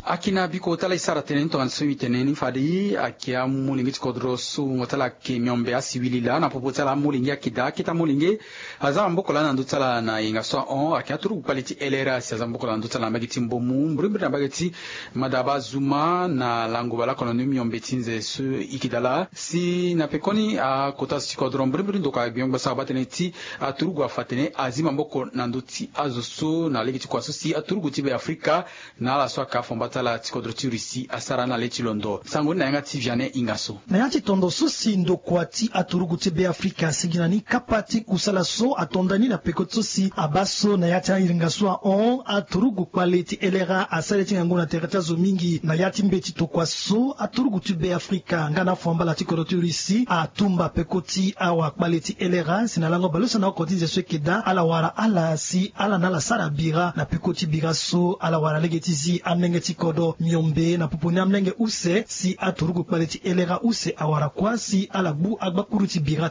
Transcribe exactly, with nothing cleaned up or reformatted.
Akina biko ti ala e sara tënë ni tongana so e tene ni fade, ayeke amolenge ti kodro so wungo ti ala ayeke miombe asiwili laa na popo ti ala amolenge ayeke daa akete amolenge. Aza maboko laa na ndö ti ala na yenga so ahon ayeke aturugu kpale ti lra si aza maboko laa na ndö ti ala na mbage ti mbomu mbirimbiri na mbage ti madaba zuma na lango baleoko na ndö miombe ti nze so e yeke daa laa si na pekoni akota zo ti kodro mbirimbiri ndokua gbion gbasa abaa tënë ti aturugu afa atene azi maboko na ndö ti azo so na lege ti kua so si aturugu ti be afrika na ala so aka afomba ti ala ti kodro ti russie asara na le ti londo sango ni na yanga ti viane inga so. Na ya ti tondo so si ndokua ti aturugu ti be afrika asigi na ni kapa ti kusala so atonda ni na peko ti so si abaa so na ya ti ahiringa so ahon aturugu kpale ti lra asara ye ti ngangu na tere ti azo mingi na ya ti mbeti tokua so aturugu ti be afrika nga na afambala ti kodro ti russie atumba peko ti awakpale ti lra si na lango baleuse na oko ti nze so eke daa ala wara ala si ala na ala sara bira na peko ti bira so ala wara lege ti zi amlenge ti kodro miombe na popo ni amlenge use si aturugu kpale ti lra use awara kuâ si ala gbu agbakuru ti bira.